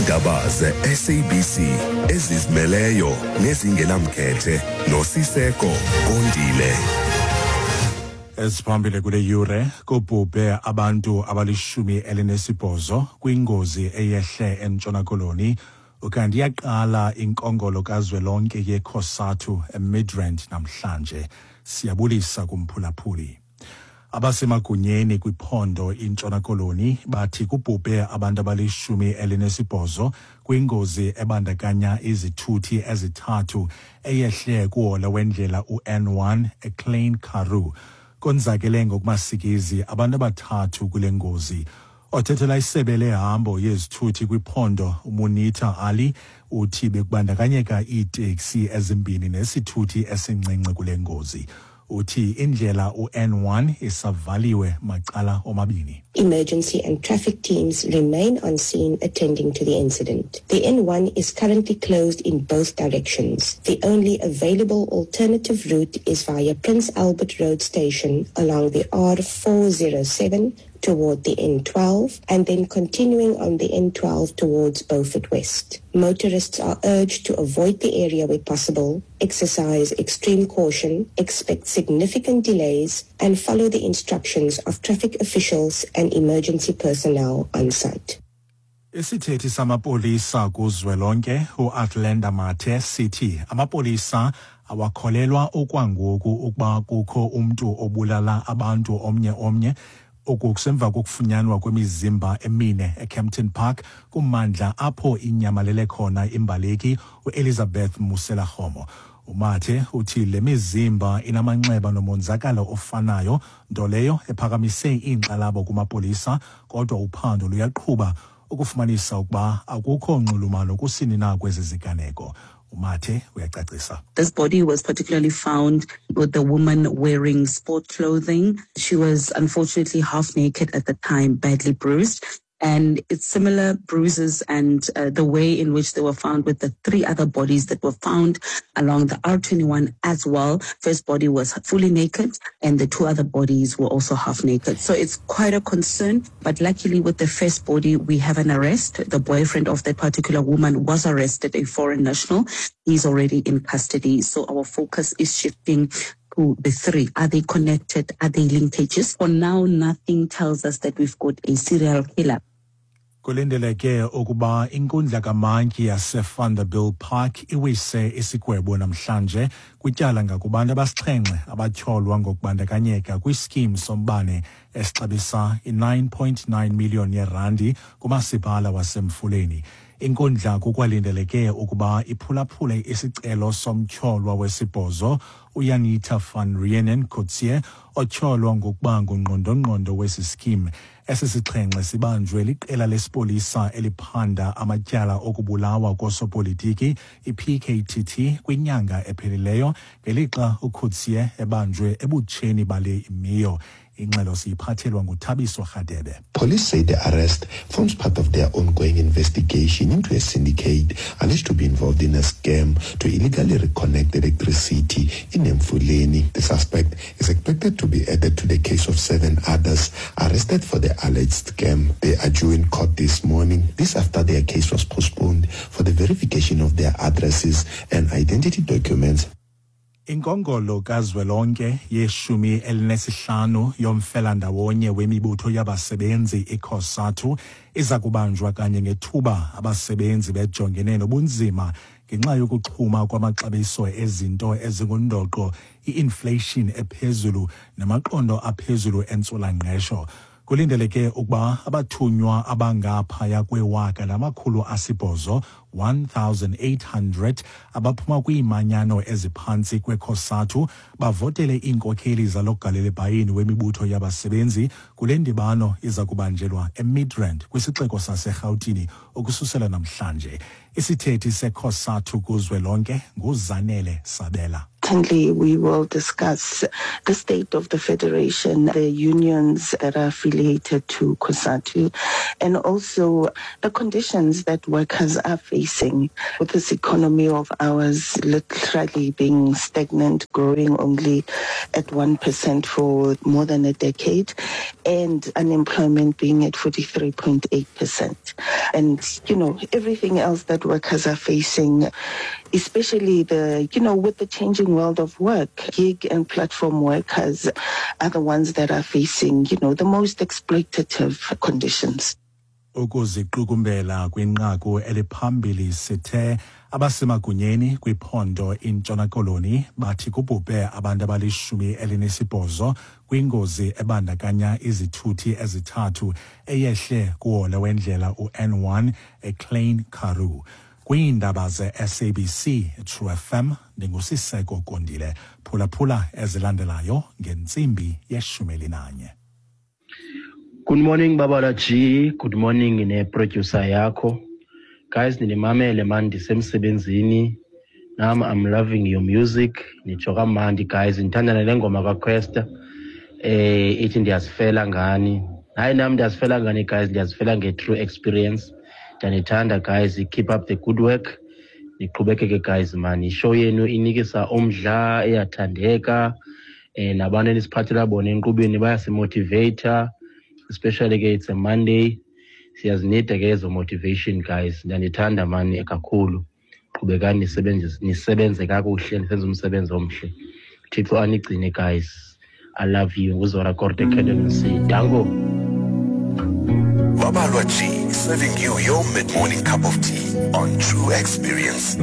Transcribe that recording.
Iindaba ze-SABC ezizimeleyo nezingenamkhethe noSiseko Kondile. Eziphambili kule yure kubhubhe abantu abalishumi elinesibhozo kwingozi eyehle eNtshona Koloni. Ukanti iyaqala inkongolo kazwelonke yeCOSATU eMidrand namhlanje. Siyabulisa kumphulaphuli. Abasemagunyeni kwiphondo iNtshona Koloni bathi kubhubhe abantu abalishumi elinesibhozo kwingozi ebandakanya izithuthi ezithathu eyehle kuhola wendlela u-N1 eKlein Karoo. Konzakele ngokumasikizi abantu abathathu kule ngozi. Othethela isebe lehambo yezithuthi kwiphondo uMunita Ali uthi bekubandakanyeka iiteksi ezimbini nesithuthi esincinci kule ngozi. Uthi indlela u-N1 isavaliwe macala omabini. Emergency and traffic teams remain on scene attending to the incident. The N1 is currently closed in both directions. The only available alternative route is via Prince Albert Road Station along the R407 toward the N12 and then continuing on the N12 towards Beaufort West. Motorists are urged to avoid the area where possible, exercise extreme caution, expect significant delays, and follow the instructions of traffic officials and emergency personnel on site. Isithethi samapolisa kuzwelonke uAthlenda Mathe sithi amapolisa awakholelwa okwangoku ukuba kukho umntu obulala abantu omnye omnye. Oku kusemva kokufunyanwa kwemizimba emine eKempton Park kummandla apho inyamalele khona imbaleki uElizabeth Moselakgomo. UMathe uthi le mizimba inamanxeba nomonzakalo ofanayo, nto leyo ephakamise iinkxalabo kumapolisa, kodwa uphando luyaqhuba ukufumanisa ukuba akukho nxulumano kusini na kwezi ziganeko. UMathe uyacacisa. This body was particularly found with the woman wearing sport clothing. She was unfortunately half naked at the time, badly bruised. And it's similar bruises and the way in which they were found with the three other bodies that were found along the R21 as well. First body was fully naked and the two other bodies were also half naked. So it's quite a concern. But luckily with the first body, we have an arrest. The boyfriend of that particular woman was arrested, a foreign national. He's already in custody. So our focus is shifting to the three. Are they connected? Are they linkages? For now, nothing tells us that we've got a serial killer. Kulindeleke ukuba inkundla kamantyi yaseVanderbijlpark iwise isigwebo namhlanje kwityala ngakubantu abasixhenxe abatyholwa ngokubandakanyeka kwiskim sombane esixabisa i-9.9 million yerandi kumasipala waseMfuleni. Inkundla kukwalindeleke ukuba iphulaphule isicelo somtyholwa wesibhozo uJanita van Reenen Coetzee otyholwa ngokuba ngungqondongqondo wesi skim. Esi sixhenxe sibanjwe liqela lesipolisa eliphanda amatyala okubulawa kosopolitiki i-PKTT kwinyanga ephelileyo ngelixa uCoetzee ebanjwe ebutsheni bale imiyo. Ingxelo siyiphathelwa nguThabiso Rhadebe. Police say the arrest forms part of their ongoing investigation into a syndicate alleged to be involved in a scam to illegally reconnect electricity in Mfuleni. The suspect is expected to be added to the case of 7 others arrested for the alleged scam. They are due in court this morning, this after their case was postponed for the verification of their addresses and identity documents. Inkongolo kazwelonke yeshumi elinesihlanu yomfelandawonye wemibutho yabasebenzi iCOSATU iza kubanjwa kanye ngethuba abasebenzi bejongene nobunzima ngenxa yokuxhuma kwamaxabiso ezinto ezingundoqo, i-inflation ephezulu namaqondo aphezulu entswelangqesho. Kulindeleke ukuba abathunywa abangaphaya kwewaka lamakhulu asibhozo 1800 abaphuma kwiimanyano eziphantsi kweCOSATU bavotele iinkokheli zalogalelebhayini wemibutho yabasebenzi kule ndibano iza kubanjelwa eMidrand kwisixeko saseRhawutini ukususela namhlanje. Isithethi seCOSATU kuzwelonke nguZanele Sabela. Certainly, we will discuss the state of the federation, the unions that are affiliated to COSATU, and also the conditions that workers are facing with this economy of ours literally being stagnant, growing only at 1% for more than a decade, and unemployment being at 43.8%. And, you know, everything else that workers are facing, especially the, you know, with the changing world of work, gig and platform workers are the ones that are facing, you know, the most exploitative conditions. Ukuziqukumbela kwinqaku eliphambili, sithe abasemagunyeni kwiphondo iNtshona Koloni bathi kubhubhe abantu abali-18 kwingozi ebandakanya izithuthi ezithathu eyehle kuhola wendlela u-N1 eKlein Karoo. Kwiindaba ze-SABC True FM, ndinguSiseko Kondile. Phulaphula ezilandelayo ngentsimbi ye-11. Good morning, Babala G. Good morning ne-producer yakho. Guys, ninimamele man ndisemsebenzini. Nam I'm loving your music. Nitsho kamandi guys. Ndithanda nale ngoma kaQuesta. Ithi ndiyazifela ngani. Hayi, nam ndiyazifela ngani guys, ndiyazifela nge-true experience. Ndiyanithanda guys, keep up the good work. Niqhubekeke guys man. Ishow yenu inikisa umdla, iyathandeka. Nabantu enisiphathela bona enkqubeni bayasimotivata, especially ke it's a Monday, siyazinida ke ezo motivation guys. Ndiyanithanda mani kakhulu, qhubekani nisebenze, nisebenze kakuhle, nisenze umsebenzi omhle. Thixo anigcine guys, I love you. Nguzora Korte Cadency, dango. Babalwa G, serving you your mid-morning cup of tea on True Experience.